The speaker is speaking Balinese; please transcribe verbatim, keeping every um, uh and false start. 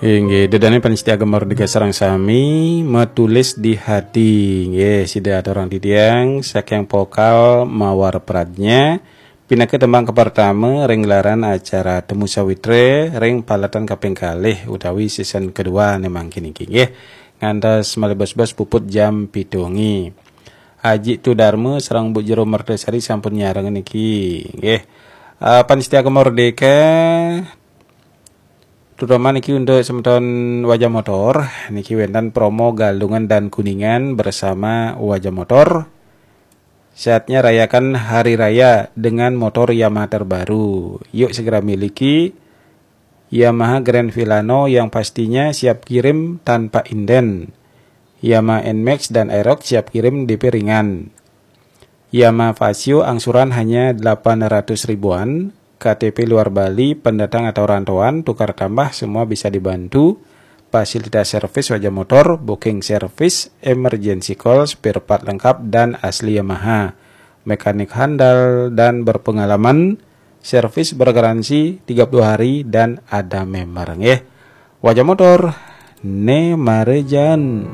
Inggih, dedane panitia Gema Merdeka sareng sami, metulis di hati. Nggih, sida aturang titiang saking vokal Mawar Pradnya, pinaka tembang kapertama ring gelaran acara Temu Sawitra ring palatan kaping kalih utawi season kedua ne mangkin niki, nggih. Ngantos malih bos-bos puput jam pitu wengi. Aji Tudarma sareng Bu Jero Mertasari sampun nyareng niki, nggih. Eh, panitia Gema Merdeka, terutama niki untuk semeton Wajah Motor, niki wenten promo Galungan dan Kuningan bersama Wajah Motor. Saatnya rayakan hari raya dengan motor Yamaha terbaru. Yuk segera miliki Yamaha Grand Filano yang pastinya siap kirim tanpa inden. Yamaha Nmax dan Aerox siap kirim D P ringan. Yamaha Fazzio angsuran hanya delapan ratus ribuan, K T P luar Bali, pendatang atau rantauan, tukar tambah semua bisa dibantu. Fasilitas servis Wajah Motor, booking service, emergency call, spare part lengkap dan asli Yamaha. Mekanik handal dan berpengalaman, servis bergaransi tiga puluh hari dan ada member, nggih. Wajah Motor, ne marejan.